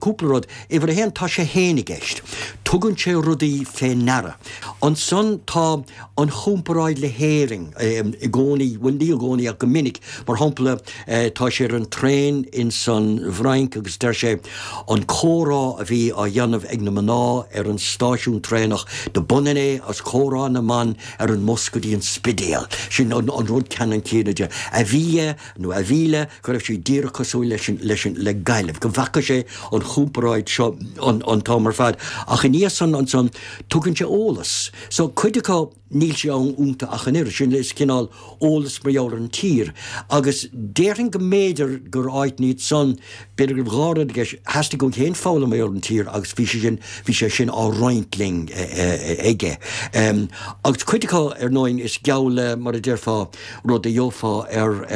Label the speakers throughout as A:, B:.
A: Cúpla rud. Uimhir a haon, tá sé fhéin i gceist. Tugann sé rudaí fé ndeara. Ansan tá an chomparáid le hÉirinn i gcónaí, bhuel ní i gcónaí ach go minic. Mar shampla, tá sé ar an traein ins an bhFrainc agus deir sé an comhrá a bhí á dhéanamh ag na mná ar an stáisiún traenach do b'ionann é agus comhrá na mban ar an mbus go dtí an Spidéal. Sin an rud ceannann céanna de. A bhí nó a bhí le, go raibh sí díreach cosúil leis an, leis an, le Gaillimh, go bhfaca sé an chomparáid seo an, an t-am ar fad. Ach ina dhiaidh san ansan, tugann sé eolas. So, cuid acu, níl sé ann iontu ach an oiread. Sin, is cineál eolas mar gheall ar an tír. Agus déarfainn go mb'fhéidir gur áit iad san, b'fhéidir go raibh dhá rud i gceist, theastaigh uaidh féin foghlaim mar gheall ar an tír agus bhí sé sin, bhí sé sin á roinnt linn aige. Agus cuid acu, ar ndóigh, is geall le, mar a déarfá, rud a gheofá ar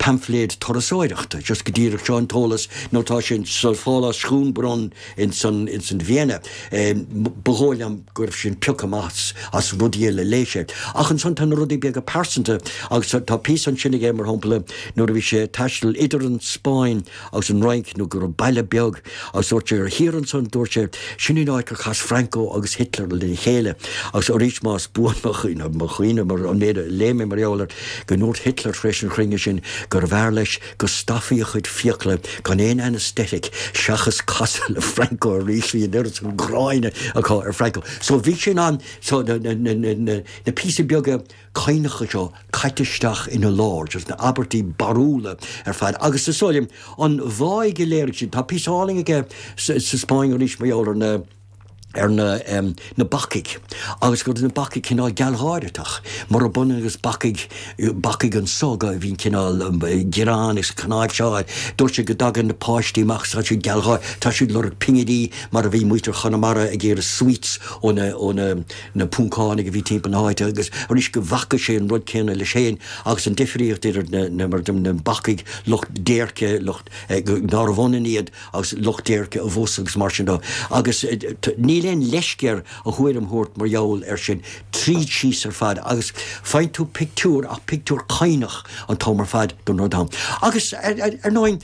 A: paimfléad turasóireachta, just go díreach seo an t-eolas nó tá sé sa phálás Schönbrunn ins an ins an Vienna. Ba dhóigh liom go raibh sin pioctha amach as rudaí eile a léigh sé. Ach ansan tá na rudaí beaga pearsanta agus tá píosa ansin aige mar shampla nuair a bhí sé ag taisteal idir an Spáinn agus an Fhrainc nó go raibh baile beag agus dúirt sé ar thiar ansan, dúirt sé, sin an áit gur chas Franco agus Hitler lena chéile agus arís más buan mo chuimhne, mo chuimhne mar an méid a léigh mé mar gheall air, go ndúirt Hitler tar éis an chruinnithe sin gurbh fhearr leis go stopfaí a chuid fiacla gan aon anaesthetic seachas casadh le Franco arís, bhí an oiread san gráin acu ar Franco. So bhí sé in ann so na, na, na, na, na píosaí beaga caonacha seo caite isteach ina lár, just na abairtí barrúla ar fad. Agus is dóigh liom, an bháidh a léirigh siad, tá píosa álainn aige sa Spáinn arís mar gheall ar na, ar na, na bacaigh, agus go raibh na bacaigh cineál gealgháireach, murab ionann agus bacaigh, bacaigh anso go, a bhíonn cineál gearán agus cnáimhseáil. Dúirt sé go dtagann na páistí amach agus tá siad gealgháireach, tá siad ag lorg pinginí mar a bhí muintir Chonamara ag iarraidh sweets ó na, ó na, na Poncánaigh a bhí timpeall na háite agus arís go bhfaca sé an rud céanna leis féin agus an difríocht idir na, na, mar na bacaigh, lucht déirce, lucht, nárbh ionann iad agus lucht déirce abhus agus mar sin de. Agus níl aon leisce air a thuairim a thabhairt mar gheall air sin tríd síos ar fad agus faigheann tú pictiúr ach pictiúr caoineach an t-am ar fad don rud ann. Agus ar ndóigh,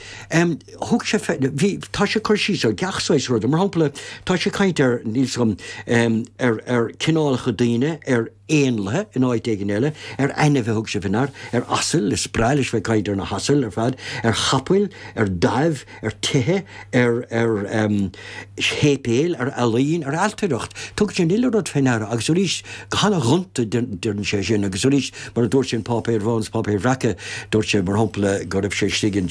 A: Thug sé, bhí, tá sé ag cur síos ar gach saghas ruda. Mar shampla, tá sé ag caint ar, níl 's agam, ar, ar cineálacha daoine, ar éanlaithe in áit éigin eile, ar ainmhithe thug sé fé ndear, ar asail, is breá leis bheith ag caint ar na hasail ar fad, ar chapaill, ar daimh, ar tithe, ar, ar shéipéil, ar ealaín, ar ailtireacht. Tugann sé an uile rud fé ndeara agus arís, go hana-ghonta deireann sé sin agus arís, mar a dúirt sé in Páipéir Bhána is Páipéir Bhreaca, dúirt sé, mar shampla, go raibh sé istigh in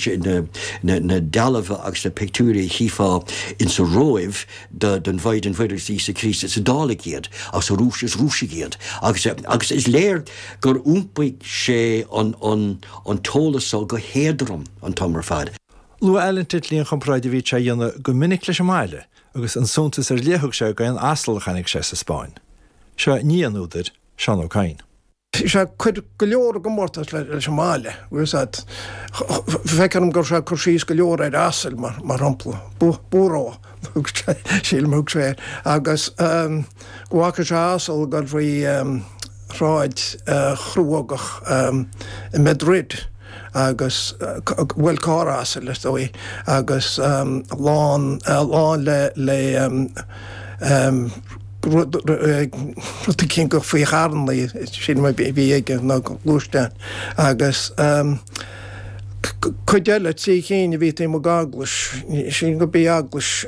A: na dealbha agus na pictiúirí a chífeá insa Róimh den Mhaighdean Mhuire agus d'Íosa Críost, is Iodálaigh iad agus a Rúis, is Rúisigh iad. Agus agus is léir gur iompaigh sé an an an t-eolas so go héadrom an t-am ar fad.
B: Luaigh Alan Titley an chomparáid a bhíodh sé a dhéanamh go minic leis an mbaile agus an suntas ar leith a thug sé d'aon asal a chonaic sé sa Spáinn. Seo nia an údair, Seán Ó Cadhain.
C: Sé ag cur go leor i gcomórtas leis an mbaile, bhfuil fhios a'd. Feictear dom go raibh sé ag cur síos go leor ar asail, mar shampla. Burro, sílim a thug sé air. Agus go bhfaca sé asal ag dul faoi shráid chruógach i Madrid agus, bhuel, carr asail is dóigh, agus lán, lán le, le rud eicínt faoi charrannaí, sílim a bhí aige, nó gluaisteáin. Agus cuid eile, 3 chinn a bhí taobh amuigh d'eaglais, sílim gurb í eaglais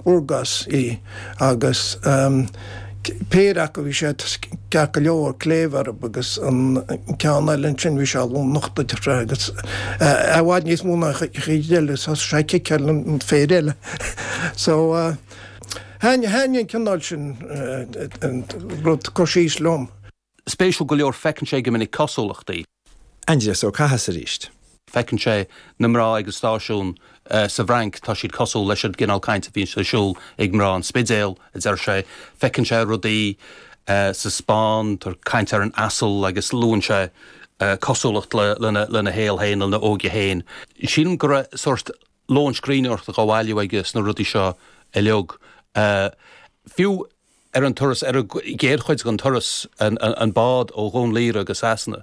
C: Burgos í, agus péire acu bhí siad ceart go leor, cléibh orthu, agus an ceann eile ansin bhí sé lán-nochta agus i bhfad níos mó ná an chuid eile, thosaigh sé ag ciceáil an phéire eile. So. Thaitnigh an cineál sin rud cur síos liom.
D: Spéisiúil go leor feiceann sé go minic cosúlachtaí.
B: Aindrias Ó Cathasaigh arís.
D: Feiceann sé na mná ag an stáisiún sa bhFrainc, tá siad cosúil leis an gcineál cainte a bhíonn ar siúl ag mná an Spidéil, a deir sé. Feiceann sé rudaí sa Spáinn, tá caint ar an asal agus luann sé cosúlacht lena shaol féin, lena óige féin. Sílim go raibh sórt lón scríbhneoireachta dhá bhailiú aige sna rudaí seo uilig. Fiú ar an turas, ar an gcéad chuid den turas, an bád ó Dhún Laoghaire go Sasana,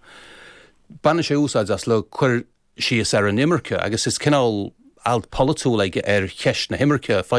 D: baineann sé úsáid as le cur síos ar an imirce agus is cineál. alt polaitiúil aige ar cheist na himirce.